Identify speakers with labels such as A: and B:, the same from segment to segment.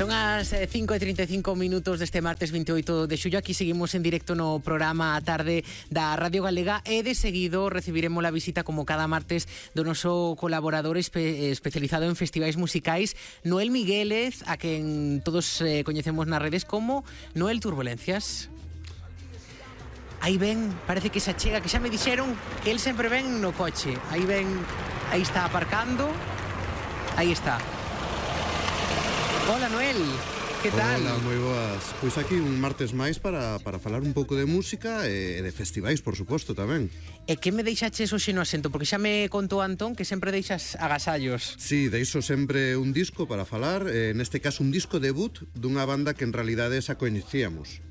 A: Son as 5:35 deste martes 28 de xullo. Aquí seguimos en directo no programa A Tarde da Radio Galega e de seguido recibiremos a visita como cada martes do noso colaborador especializado en festivais musicais, Noel Miguélez, a quen todos coñecemos nas redes como Noel Turbulencias. Aí ven, parece que se achega, que xa me dixeron que el sempre ven no coche. Aí ven, aí está aparcando. Aí está. Hola, Noel. Que tal?
B: Hola, moi boas. Pois aquí un martes máis para falar un pouco de música e de festivais, por suposto, tamén.
A: E que me deixaches hoxe no asento? Porque xa me contou Antón que sempre deixas agasallos.
B: Sí, deixo sempre un disco para falar, neste caso un disco debut dunha banda que en realidade xa coñecíamos.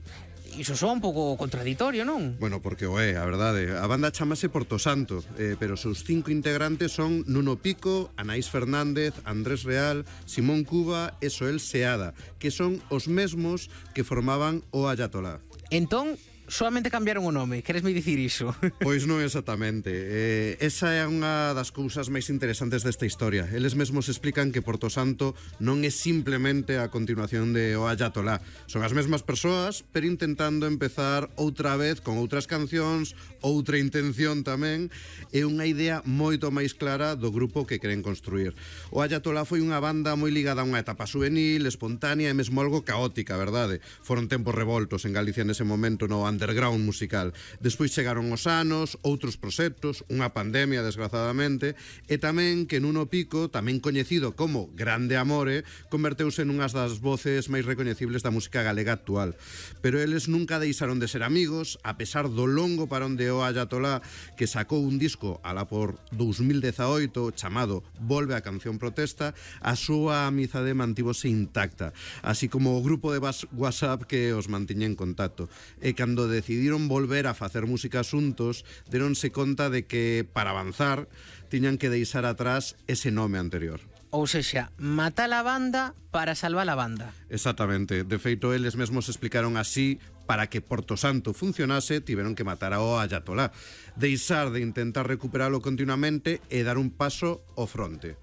A: Iso soa un pouco contradictorio, non?
B: Bueno, porque o é, a verdade. A banda chamase Porto Santo, pero os seus 5 integrantes son Nuno Pico, Anaís Fernández, Andrés Real, Simón Cuba e Soel Seada, que son os mesmos que formaban o Ayatolá.
A: Entón, solamente cambiaron o nome, queresme dicir iso?
B: Pois non exactamente. Esa é unha das cousas máis interesantes desta historia. Eles mesmos explican que Porto Santo non é simplemente a continuación de O Ayatolá. Son as mesmas persoas, pero intentando empezar outra vez con outras cancións, outra intención tamén, e unha idea moito máis clara do grupo que queren construir. O Ayatolá foi unha banda moi ligada a unha etapa juvenil, espontánea e mesmo algo caótica, verdade? Foron tempos revoltos en Galicia nese momento no underground musical. Despois chegaron os anos, outros proxectos, unha pandemia, desgrazadamente, e tamén que Nuno Pico, tamén coñecido como Grande Amore, converteuse nunhas das voces máis recoñecibles da música galega actual. Pero eles nunca deixaron de ser amigos, a pesar do longo parón de O Ayatolá, que sacou un disco alá por 2018 chamado Volve a canción protesta, a súa amizade mantívose intacta, así como o grupo de WhatsApp que os mantiña en contacto. E cando decidiron volver a facer música xuntos, deronse conta de que, para avanzar, tiñan que deixar atrás ese nome anterior.
A: Ou sexa, matar a banda para salvar a banda.
B: Exactamente. De feito, eles mesmos explicaron así: para que Porto Santo funcionase, tiveron que matar ao Ayatolá, deixar de intentar recuperalo continuamente e dar un paso ao fronte.